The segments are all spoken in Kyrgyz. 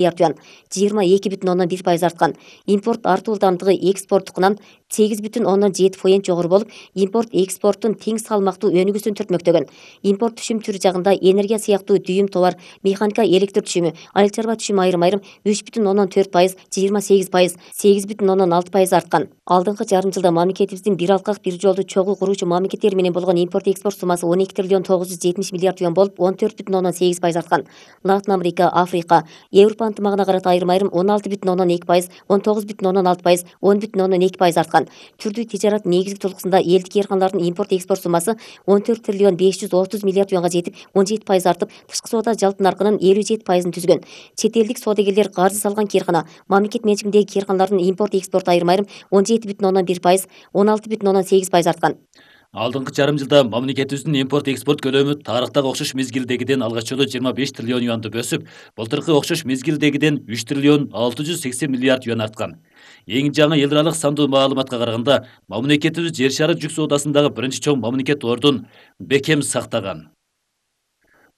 миллиард юан 22,1% арткан. Импорт артуу ылдамдыгы экспорттукунан 8,7% жогору болуп, импорт экспорттун тең салмактуу өнүгүүсүн түртмөктөгөн. Импорт түшүм түрү жагында энергия сыяктуу дүйүм товар, механика электр түшүмү, айыл чарба түшүмү айрым-айрым 3,4%, 28%, 8,6% арткан. Алдыңкы жарым жылда мамлекетибиздин бир алкак бир жолду чогуу куруучу мамлекеттер менен болгон импорт экспорт суммасы 12 триллион 970 миллиард юан болуп, 14,8% арткан. Латын Америка, Африка, Европа ынтымагына карата айрым-айрым 16,2%, 19,6%, 10,2% арткан. Түрдүү тижарат негизги толкусунда элдик ээрканлардын импорт экспорт суммасы 14 триллион 530 миллиард юанга жетип, 17% артып, тышкы соода жалпы наркынын 57%-ын түзгөн. Чет элдик соодагерлер каржы салган кээркана, мамлекет менчигиндеги кээрканалардын импорт экспорту айрым-айрым 17,1%, 16,8% арткан. Алдыңкы жарым жылда мамлекетибиздин импорт экспорт көлөмү тарыхтагы окшош мезгилдегиден алгач жолу 25 триллион юанды өсүп, былтыркы окшош мезгилдегиден 3 триллион 680 миллиард юан арткан. Эң жаңы эл аралык сандуу маалыматка караганда, мамлекетибиз жер шары жүк соодасындагы биринчи чоң мамлекет ордун бекем сактаган.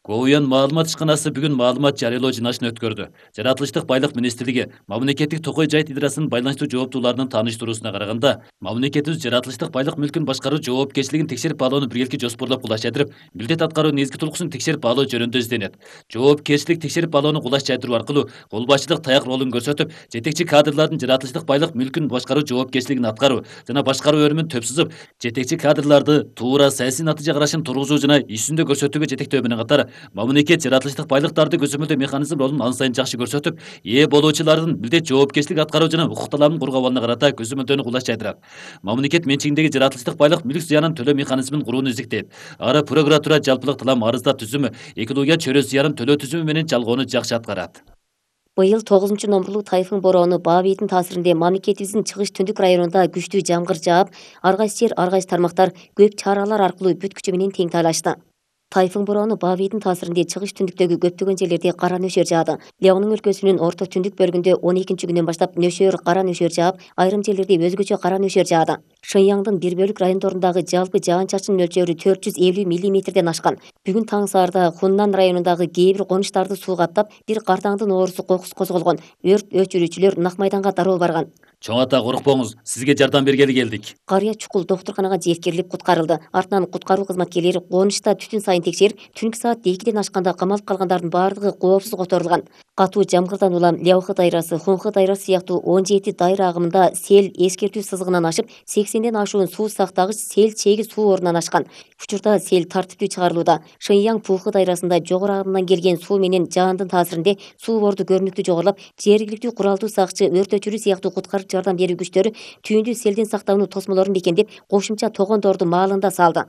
Коуян маалымат ишканасы бүгүн маалымат жарыялоо жыйналышын өткөрдү. Жаратылыштык байлык министрлиги мамлекеттик токой жайыт идарасынын байланыштуу жооптууларынын тааныштыруусуна караганда, мамлекетибиз жаратылыштык байлык мүлкүн башкаруу жоопкерчилигин текшерип баалоону биргеликке жоспорлоп кулаш жайдырып, милдет аткаруу негизги тулкусун текшерип баалоо жөнүндө изденет. Жоопкерчилик текшерип баалоону кулаш жайдыруу аркылуу кол башчылык таяк ролун көрсөтүп, жетекчи кадрлардын жаратылыштык байлык мүлкүн башкаруу жоопкерчилигин аткаруу жана башкаруу өнүмүн төп сызып, жетекчи кадрларды туура саясий натыйжа карашын тургузуу жана иш жүзүндө көрсөтүүгө жетектөө менен катар, мамлекет жаратылыштык байлыктарды көзөмөлдөө механизм ролун ан сайын жакшы көрсөтүп, ээ болуучулардын милдет жоопкерчилик аткаруу жана укук талабын коргоо абалына карата көзөмөлдөөнү кулаш жайдырат. Мамлекет менчигиндеги жаратылыштык байлык мүлк зыянын төлөө механизмин курууну издиктейт. Ары прокуратура жалпылык талап арыздап түзүмү, экология чөйрө зыянын төлөө түзүмү менен чалгоону жакшы аткарат. Быйыл 9-номурлуу тайфун бороону Баабийдин таасиринде мамлекетибиздин чыгыш түндүк районунда күчтүү жамгыр жаап, ар кайсы жер, ар кайсы тармактар көп чаралар аркылуу бүт күчү менен тең тайлашты. Тайфун бороону Баабийдин таасиринде чыгыш түндүктөгү көптөгөн жерлерде кара нөшөр жаады. Леонун өлкөсүнүн орто түндүк бөлүгүндө 12 күнүнөн баштап кара нөшөр жаап, айрым жерлерде өзгөчө кара нөшөр жаады. Шыньяңдын бир бөлүк райондорундагы жалпы жаан-чачын мөлчөрү 450 мм ашкан. Бүгүн таң саарда Хуннан районундагы кээ бир конуштарды суу каптап, бир картаңдын оорусу кокусу козголгон. Өрт өчүрүүчүлөр Нак майданга дароо барган. Чоң ата, коркпоңуз, сизге жардам бергели келдик. Карыя чукул доктурканага жеткирилип куткарылды. Артынан куткаруу кызматкерлери конушта түтүн сайын текшерип, түнкү саат 2ден ашканда камалып калгандардын баардыгы коопсуз которулган. Катуу жамгырдан улам Ляохы дайрасы, Хунхы дайрасы сыяктуу 17 дайра агымында сел эскертүү сызыгынан ашып, 80ден ашуун суу сактагыч сел чеги суу ордунан ашкан. Учурда сел тартиптүү чыгарылууда. Шыньяң Пухы дайрасында жогору агымдан келген суу менен жаандын таасиринде суу борду көрүнүктүү жогорулап, жергиликтүү куралдуу сакчы, өрт өчүрүү сыяктуу куткарып жардам берүү күчтөрү түйүндү селден сактоонун тосмолорун бекемдеп, кошумча тогондорду маалында салды.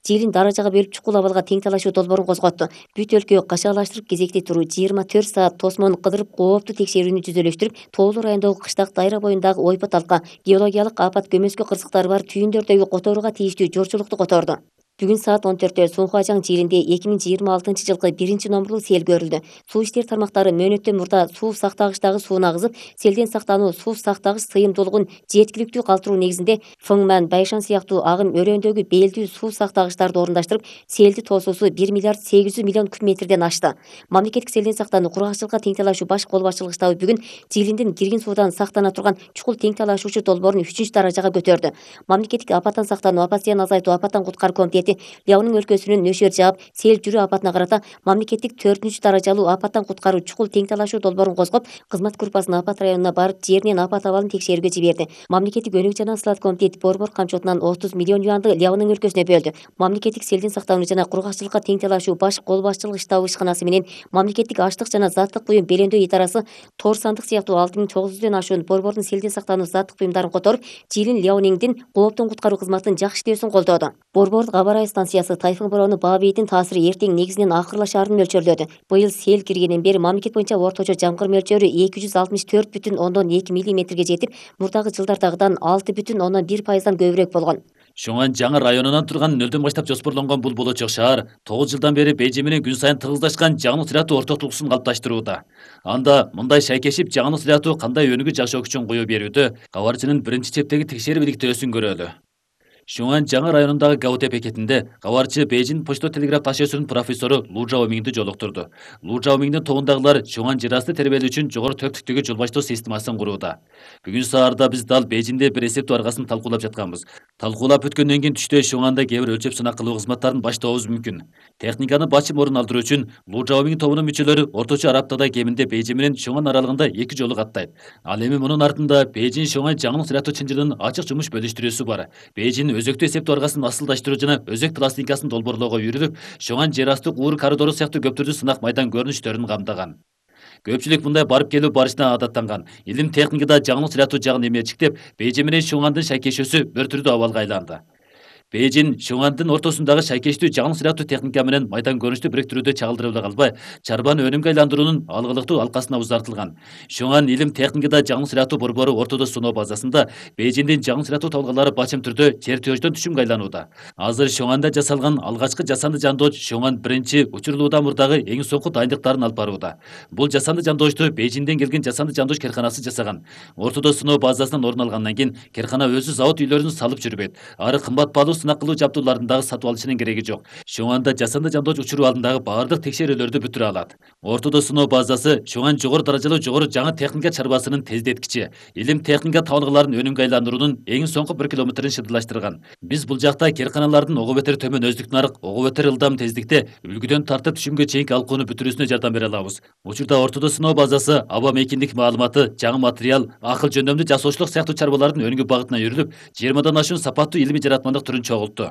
Жыйылын даражага бөлүп чукул абалга тең талашуу долбоорун козготту. Бүт өлкө кашаалаштырып кезекте туруу 24 саат тосмону кыдырып кооптуу текшерүүнү жүзөлөштүрүп, Тоолуу районундагы кыштак дайра боюндагы ойпот алка, геологиялык апат көмөскө кырсыктары бар түйүндөрдөгү которууга тийиштүү жорчулукту которду. Бүгүн саат 14-тө Сунхажаң жыйылында 2026-жылкы 1-номурлуу сел көрүлдү. Суу иштери тармактары мөөнөттөн мурда суу сактагычтагы сууну агызып, селден сактануу суу сактагыч сыйымдуулугун жеткиликтүү калтыруу негизинде Фыңман, Байшан сыяктуу агым өрөөндөгү бээлдүү суу сактагычтарды орундаштырып, селди тоосусу 1 миллиард 800 миллион куб метрден ашты. Мамлекеттик селден сактануу кургакчылыкка тең талашуу баш кол башчылык штабы бүгүн жыйылындын кирген суудан сактана турган чукул тең талашуучу долбоорун 3-даражага көтөрдү. Мамлекеттик апаттан сактануу, апат зыянын азайтуу, апаттан куткаруу комитети Леонун өлкөсүнүн нөшөр жаап, сел жүрүү апатына карата мамлекеттик 4-даражалуу апаттан куткаруу чукул тең талашуу долбоорун козгоп, кызмат группасын апат районуна барып, жеринен апат абалын текшерүүгө жиберди. Мамлекеттик өнүк жана сылат комитети борбор камчотунан 30 миллион юанды Леонун өлкөсүнө бөлдү. Мамлекеттик селден сактануу жана кургакчылыкка тең талашуу баш кол башчылык штабы ишканасы менен мамлекеттик аштык жана заттык буюм белемдөө идарасы тор сандык сыяктуу 6900дөн ашуун борбордун селден сактануу заттык буюмдарын которуп, Жыйылын Леониңдин кооптон куткаруу кызматынын жакшы иштөөсүн колдоду. Борбордук аба ырайы станциясы тайфун бороону Баабийдин таасири эртең негизинен акырлашаарын мөлчөрлөдү. Быйыл сел киргенден бери мамлекет боюнча орточо жамгыр мөлчөрү 264,2 мм жетип, мурдагы жылдардагыдан 6,1%дан көбүрөөк болгон. Шуңан жаңы районунан турган нөлдөн баштап жоспорлонгон бул болочок шаар 9 жылдан бери Бейжиң менен күн сайын тыгыздашкан жаңылык сыяктуу орток тулкуусун калыпташтырууда. Анда мындай шайкешип жаңылык сыяктуу кандай өнүгүү жашоо үчүн кое берүүдө кабарчынын биринчи чептеги текшерип иликтөөсүн көрөлү. Шуңан жаңы районундагы Гаути бекетинде кабарчы Бейжин почто телеграф ташуусунун профессору Лу Жаомиңди жолуктурду. Лу Жаомиңдин тобундагылар Шуңан жер асты тербелүү үчүн жогору төрттүктөгү жол баштоо системасын курууда. Бүгүн саарда биз дал Бейжинде бир эсептөө аргасын талкуулап жатканбыз. Талкуулап өткөндөн кийин түштө Шуңанда кээ бир өлчөп сынак кылуу кызматтарын баштообуз мүмкүн. Техниканы бачым орун алдыруу үчүн Лу Жаомиң тобунун мүчөлөрү орточо ар аптада кеминде Бейжин менен Шуңан аралыгында 2 жолу каттайт. Ал эми мунун артында Бейжин Шуңан жаңылык жаратуу чынжырынын ачык жумуш бөлүштүрүүсү бар. Бейжин өзөктүү эсептөө аргасын асылдаштыруу жана өзөк пластинкасын долбоорлоого үйрүнүп, Шуңан жер асты уур коридору сыяктуу көп түрдүү сынак майдан көрүнүштөрүн камтыган. Көпчүлүк мындай барып келүү барышына адаттанган. Илим техникада жаңылык жаратуу жагын эмечиктеп, Бейжин менен Шуңандын шайкешүүсү бир түрдүү абалга айланды. Бейжин Шуңандын ортосундагы шайкештүү жаңылык жаратуу техника менен майдан көрүнүштү бириктирүүдө чагылдырып эле калбай, чарбаны өнүмгө айландыруунун алгылыктуу алкасына узартылган. Шуңан илим техникада жаңылык жаратуу борбору ортодо сыноо базасында Бейжиндин жаңылык жаратуу табылгалары бачым түрдө чертеждон түшүмгө айланууда. Азыр Шуңанда жасалган алгачкы жасанды жандооч Шуңан биринчи учурлуудан мурдагы эң соңку дайындыктарын алып барууда. Бул жасанды жандоочту Бейжинден келген жасанды жандооч керканасы жасаган. Ортодо сыноо базасынан орун алгандан кийин керкана өзү завод үйлөрүн салып жүрбөйт. Ары кымбат баалуу сынак кылуу жабдууларын дагы сатып алышынын кереги жок. Шуңанда жасанды жандооч учуруу алдындагы баардык текшерүүлөрдү бүтүрө алат. Ортодо сыноо базасы Шуңан жогору даражалуу жогору жаңы техника чарбасынын тездеткичи, илим техника табылгаларын өнүмгө айландыруунун эң соңку 1 километрин шыдырлаштырган. Биз бул жакта керканалардын ого бетер төмөн өздүк нарык, ого бетер ылдам тездикте үлгүдөн тартып түшүмгө чейинки алкууну бүтүрүүсүнө жардам бере алабыз. Учурда ортодо сыноо базасы аба мейкиндик маалыматы, жаңы материал, акыл жөндөмдүү жасоочулук сыяктуу чарбалардын өнүгүү багытына жүрүлүп, 20дан ашуун сапаттуу илимий жаратмандык түрүн чогултту.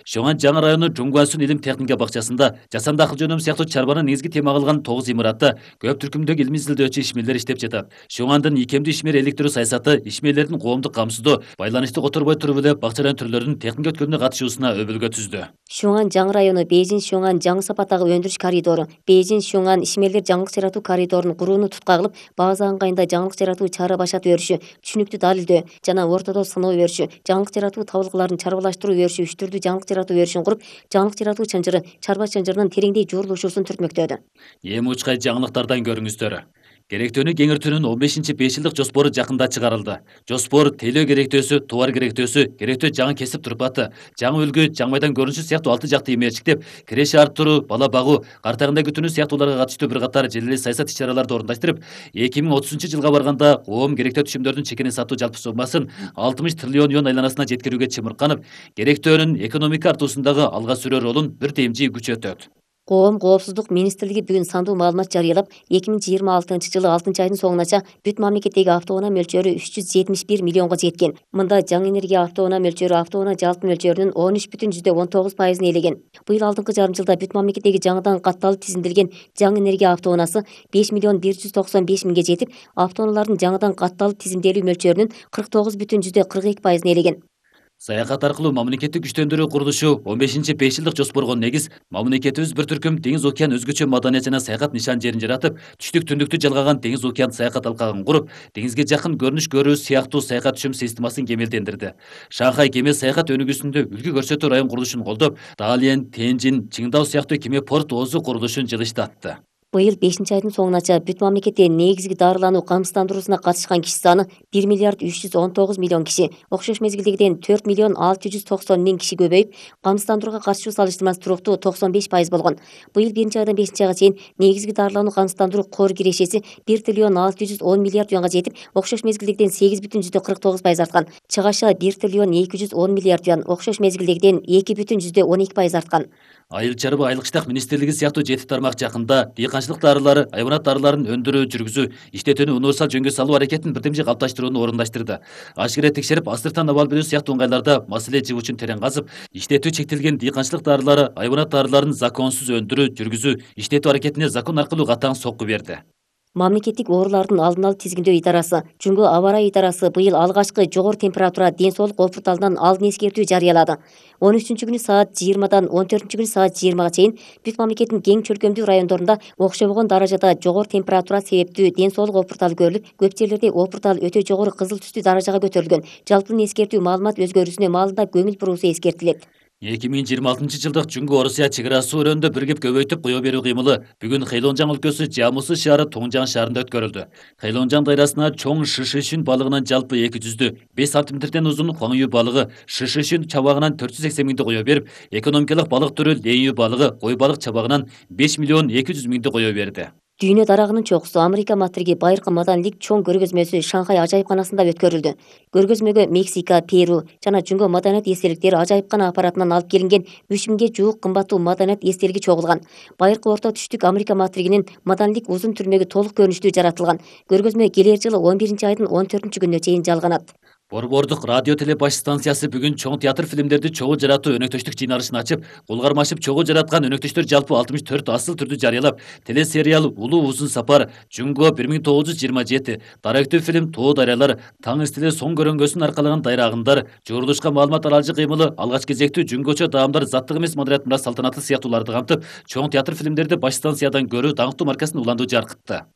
Шуңан жаңы району Жуңгуансун илим техника бакчасында жасанды акыл жөнөм сыяктуу чарбаны негизги тема кылган 9 имаратта көп түркүмдөгү илимий изилдөөчү ишмерлер иштеп жатат. Шуңандын икемдүү ишмер иликтирүү саясаты ишмерлердин коомдук камсыздоо, байланышты которбой туруп эле бакчаларын түрлөрүнүн техника өткөрүүнүнө катышуусуна өбөлгө түздү. Шуңан жаңы району Бейжин Шуңан жаңы сапаттагы өндүрүш коридору, Бейжин Шуңан ишмерлер жаңылык жаратуу коридорун курууну tutка кылып, база ыңгайында жаңылык жаратуу чара башатып өрүшү, түшүнүктүү далилдөө жана ортодо сыноо өрүшү, жаңылык жаратуу табылгаларын чарбалаштыруу өрүшү, үч түрдүү жаңылык жаратуу өрүшүн куруп, жаңылык жаратуу чынжыры, чарба чынжырынын тереңдей жуурулушуусун түртмөктөдү. Эми учкай жаңылыктардан көрүңүздөр. Керектөөнү кеңиртүүнүн 15-5 жылдык жоспору жакында чыгарылды. Жоспор тейлөө керектөөсү, товар керектөөсү, керектөө жаңы кесип турпаты, жаңы үлгү, жаңы майдан көрүнүшү сыяктуу 6 жакты эмерчиктеп, киреше арттыруу, бала багуу, кар тагында күтүүнү сыяктууларга катыштуу бир катар желеле саясат иш-чараларды орундаштырып, 2030-жылга барганда коом керектөө түшүмдөрдүн чекенин сатуу жалпы суммасын 60 триллион юан айланасына жеткирүүгө чымырканып, керектөөнүн экономика артуусундагы алга сүрөө ролун бир темжий күчөтөт. Коом коопсуздук министрлиги бүгүн сандуу маалымат жарыялап, 2026-жылы 6-айдын соңунача бүт мамлекеттеги автоунаа мөлчөрү 371 миллионго жеткен. Мында жаңы энергия автоунаа мөлчөрү автоунаа жалпы мөлчөрүнүн 13,19% ээлеген. Быйыл алдыңкы жарым жылда бүт мамлекеттеги жаңыдан катталып тизилдирген жаңы энергия автоунаасы 5,195 миңге жетип, автоунаалардын жаңыдан катталып тизимделүү мөлчөрүнүн 49,42% ээлеген. Саякат аркылуу мамлекеттик күчтөндүрүү курулушу 15-5 жылдык жоспорго негиз мамлекетибиз бир түркүм деңиз океан өзгөчө маданият жана саякат нишан жерин жаратып, түштүк түндүктү жалгаган деңиз океан саякат алкагын куруп, деңизге жакын көрүнүш көрүү сыяктуу саякат түшүм системасын кемелдендирди. Шанхай кеме саякат өнүгүүсүндө үлгү көрсөтүү район курулушун колдоп, Далиен, Тенжин, Чыңдау сыяктуу кеме порт оозу курулушун жылыштатты. Быйыл 5-айдын соңунача бүт мамлекетте негизги дарылануу камсыздандыруусуна катышкан киши саны 1 миллиард 319 миллион киши, окшош мезгилдегиден 4 миллион 690 миң киши көбөйүп, камсыздандырууга катышуу салыштырмасы туруктуу 95% болгон. Быйыл 1-айдан 5-айга чейин негизги дарылануу камсыздандыруу кор кирешеси 1 триллион 610 миллиард юанга жетип, окшош мезгилдегиден 8,49% арткан. Чыгаша 1 триллион 210 миллиард юан, окшош мезгилдегиден 2,12% арткан. Айыл чарба айлык иштак министрлиги сыяктуу 7 тармак жакында дыйканчылык дарылары, айбанат дарыларын өндүрүү, жүргүзүү, иштетүүнү универсал жөнгө салуу аракетин бирдемжи калыпташтырууну орундаштырды. Ашкере текшерип, астыртан абал берүү сыяктуу ыңгайларда маселе жыгуучун терең казып, иштетүү чектелген дыйканчылык дарылары, айбанат дарыларын законсуз өндүрүү, жүргүзүү, иштетүү аракетине закон аркылуу катаң сокку берди. Мамлекеттик оорулардын алдын алып тизгиндөө идарасы, Жүнгө аба ырайы идарасы быйыл алгачкы жогору температура ден соолук опурталынан алдын эскертүү жарыялады. 13-күнү саат 20-дан 14-күнү саат 20-га чейин бүт мамлекеттин кең чөлкөмдүү райондорунда окшобогон даражада жогору температура себептүү ден соолук опурталы көрүлүп, көп жерлерде опуртал өтө жогору кызыл түстүү даражага көтөрүлгөн. Жалпы эскертүү маалымат өзгөрүүсүнө маалында көңүл буруусу эскертилет. 2026-жылдык Жүнгө-Орусия чек арасы өрөөнүндө биригип көбөйтүп кое берүү кыймылы бүгүн Хэйлонжан өлкөсү Жамусы шаары Тоңжан шаарында өткөрүлдү. Хэйлонжан дайрасына чоң шишишүн балыгынан жалпы 205 сантиметрден узун хуаңю балыгы, шишишүн чабагынан 480 миңди кое берип, экономикалык балык түрү лейүү балыгы, кой балык чабагынан 5 миллион 200 миңди кое берди. Дүйнө дарагынын чокусу Америка матриги байыркы маданилик чоң көргөзмөсү Шанхай ажайыпканасында өткөрүлдү. Көргөзмөгө Мексика, Перу жана Жүнгө маданият эстеликтери ажайыпкана аппаратынан алып келинген 3000ге жуук кымбаттуу маданият эстелиги чогулган. Байыркы орто түштүк Америка матригинин маданилик узун түрмөгү толук көрүнүштүү жаратылган. Көргөзмө келер жылы 11-айдын 14-күнүнө чейин жалганат. Борбордук радио теле баш станциясы бүгүн чоң театр фильмдерди чогуу жаратуу өнөктөштүк жыйналышын ачып, кулгармашып чогуу жараткан өнөктөштөр жалпы 64 асыл түрдү жарыялап, телесериал Улуу узун сапар, Жүнгө 1927, даректүү фильм Тоо дарыялар, Таң истили соң көрөнгөсүн аркалаган дайрагындар, журулушка маалымат аралжы кыймылы, алгач кезектүү Жүнгөчө даамдар заттык эмес модерат мурас салтанаты сыяктууларды камтып, чоң театр фильмдерди баш станциядан көрүү даңктуу маркасын уландуу жаркытты.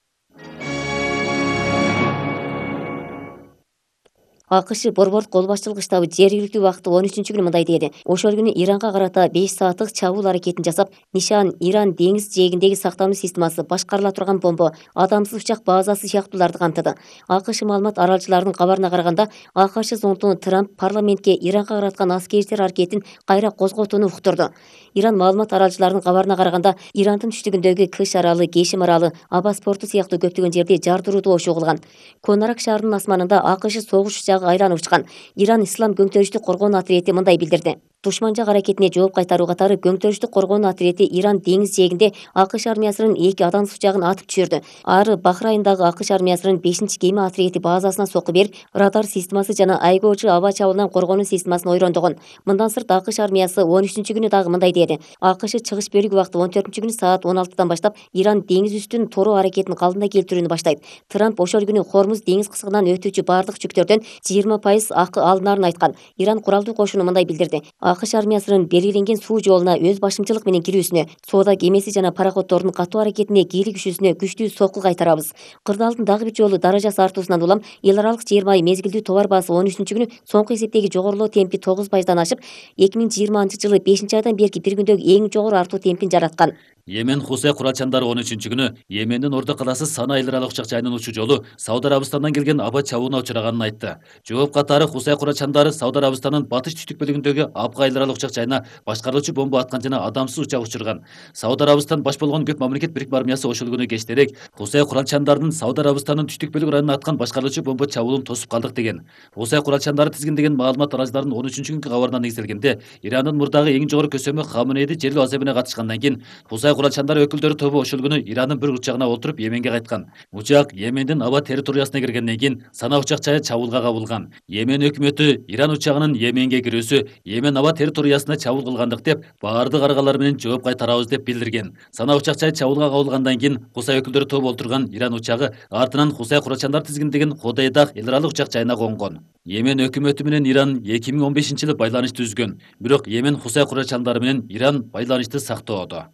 АКШ борбордук кол башчылык штабы жергиликтүү убакыты 13-күнү мындай деди. Ошол күнү Иранга карата 5 сааттык чабуул аракетин жасап, нишан Иран деңиз жээгиндеги сактануу системасы, башкарыла турган бомба, адамсыз учак базасы сыяктууларды камтыды. АКШ маалымат аралчыларынын кабарына караганда, АКШ зондуну Трамп парламентке Иранга караткан аскердер аракетин кайра козготууну уктурду. Иран маалымат аралчыларынын кабарына караганда, Ирандын түштүгүндөгү Кыш аралы, Кешим аралы, Абас порту сыяктуу көптөгөн жерде жардыруу ошо кылган. Конарак шаарынын асманында АКШ согуш учагы айланып учкан. Иран ислам көңтөрүштүк коргоонуу отряди мындай билдирди. Душманча аракетине жооп кайтаруу катары көңтөрүштүк коргоонуу отряди Иран деңиз жээгинде АКШ армиясынын 2 адамсыз учагын атып түшүрдү. Ары Бахрайндагы АКШ армиясынын 5-кеме отряди базасына сокку берип, радар системасы жана айгоочу аба чабуулунан коргонуу системасын ойрондогон. Мындан сырт АКШ армиясы 13-күнү дагы мындай деди. АКШ чыгыш бөлүк убакыты 14-күнү саат 16-дан баштап Иран деңиз үстүн тороо аракетин калдына келтирүүнү баштайт. Трамп ошол күнү Хормуз деңиз кысыгынан өтүүчү бардык жүктөрдөн 20% акы алынарын айткан. Иран куралдуу кошуну мындай билдирди. АКШ армиясынын белгиленген суу жолуна өз башымчылык менен кирүүсүнө, соода кемеси жана пароходдордун катуу аракетине кийлик күшүүсүнө күчтүү сокку кайтарабыз. Кырдаалдын дагы бир жолу даражасы артуусунан улам эл аралык жер майы мезгилдүү товар баасы 13-күнү соңку эсептеги жогорулоо темпи 9%дан ашып, 2020-жылы 5-айдан берки бир күндөгү эң жогору артуу темпин жараткан. Йемен Хусей куралчандары 13-күнү Йемендин Ордо калаасы Сана эл аралык учак жайынын учуу жолу Сауд Арабистандан келген аба чабууна учураганын айтты. Жооп катары Хусей куралчандары Сауд Арабистанын батыш түштүк бөлүгүндөгү Абга эл аралык учак жайына башкаруучу бомба аткан жана адамсыз учак учурган. Сауд Арабистан баш болгон көп мамлекет бирикме армиясы ошол күнү кечтерээк Хусей куралчандарынын Сауд Арабистанын түштүк бөлүк районуна аткан башкаруучу бомба чабуулун тосуп калдык деген. Хусей куралчандары тизгиндеген маалымат аралжыларынын 13-күнкү кабарына негизделгенде, Ирандын мурдагы эң жогору көсөмү Хаменейди жерлөө азебине катышкандан кийин Хусей куралчандары өкүлдөрү тобу ошол күнү Ирандын бир учагына отуруп Йеменге кайткан. Учак Йемендин аба территориясына киргенден кийин Сана учак жайы чабуулга кабылган. Йемен өкмөтү Иран учагынын Йеменге кирүүсү Йемен аба территориясына чабуул кылгандык деп баардык аргалар менен жооп кайтарабыз деп билдирген. Сана учак жайы чабуулга кабылгандан кийин Хусей өкүлдөрү тобу отурган Иран учагы артынан Хусей куралчандар тизгиндеген Ходейдах эл аралык учак жайына конгон. Йемен өкмөтү менен Иран 2015-жылы байланышты үзгөн. Бирок Йемен Хусей куралчандары менен Иран байланышты сактоодо.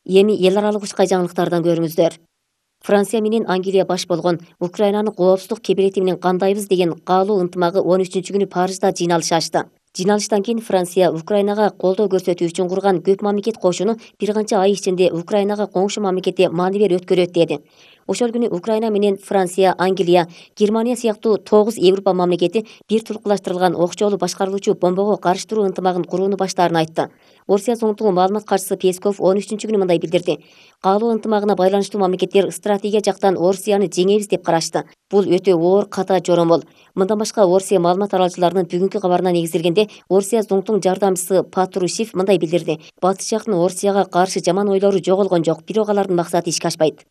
Эми эл аралык учкай жаңылыктардан көрүңүздөр. Франция менен Англия баш болгон Украинанын коопсуздук кебелети менен кандайбыз деген каалоо ынтымагы 13-күнү Парижда жыйналыш ачты. Жыйналыштан кийин Франция Украинага колдоо көрсөтүү үчүн курган көп мамлекет кошуну бир канча ай ичинде Украинага коңшу мамлекетте маанилер өткөрөт деди. Ошол күнү Украина менен Франция, Англия, Германия сыяктуу 9 Европа мамлекети бир тулкулаштырылган окчолуу башкарылуучу бомбого карыштыруу ынтымагын курууну баштаарын айтты. Орусия зондугу маалымат катчысы Песков 13-күнү мындай билдирди. Каалоо ынтымагына байланыштуу мамлекеттер стратегия жактан Орусияны жеңебиз деп карашты. Бул өтө оор ката жоромол. Мындан башка Орусия маалымат аралчыларынын бүгүнкү кабарына негизделгенде Орусия зондугунун жардамчысы Патрушев мындай билдирди. Батыш жактын Орусияга каршы жаман ойлору жоголгон жок, бирок алардын максаты ишке ашпайт.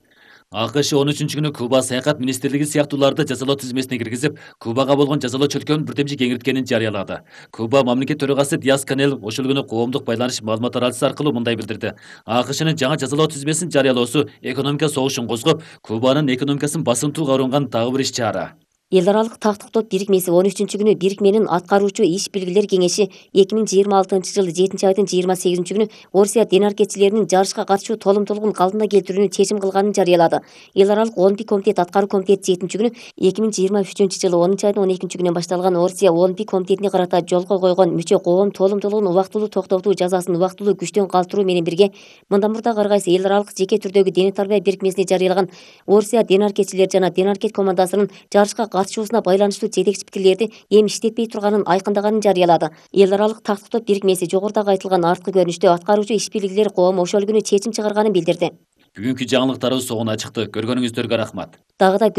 АКШ 13-күнү Куба саякат министрлиги сыяктууларды жазалоо тизмесине киргизип, Кубага болгон жазалоо чөлкөөнүн бирдемчи кеңейткенин жарыялады. Куба мамлекет төрагасы Диас-Канел ошол күнү коомдук байланыш маалымат аралчысы аркылуу мындай билдирди. АКШнын жаңа жазалоо тизмесин жарыялоосу экономика согушун козгоп, Кубанын экономикасын басымтууга урунган дагы бир иш чара. Эл аралык тактык топ бирикмеси 13-күнү бирикменин аткаруучу иш белгилер кеңеши 2026-жылы 7-айдын 28-күнү Орусия денаркетчилеринин жарышка катышуу толумдуулугун калдына келтирүүнү чечим кылганын жарыялады. Эл аралык 11 комитет аткаруу комитети 7-күнү 2023-жылы 10-айдын 12-күнүнөн башталган Орусия 11 комитетине карата жолго койгон мүчө коом толумдуулугун убактылуу токтотуу жазасын убактылуу күчтөн калтыруу менен бирге мындан мурда ар кайсы эл аралык жеке түрдөгү дене тарбия бирикмесине жарыялаган Орусия денаркетчилер жана денаркет командасынын жарышка катышуусуна байланыштуу жетекчи пикирлерди эми иштетпей турганын айкындаганын жарыялады. Эл аралык тактык топ бирикмеси жогорудагы айтылган арткы көрүнүштө аткаруучу иш белгилер коому ошол күнү чечим чыгарганын билдирди. Бүгүнкү жаңылыктарыбыз соңуна чыкты. Көргөнүңүздөргө рахмат. Дагы да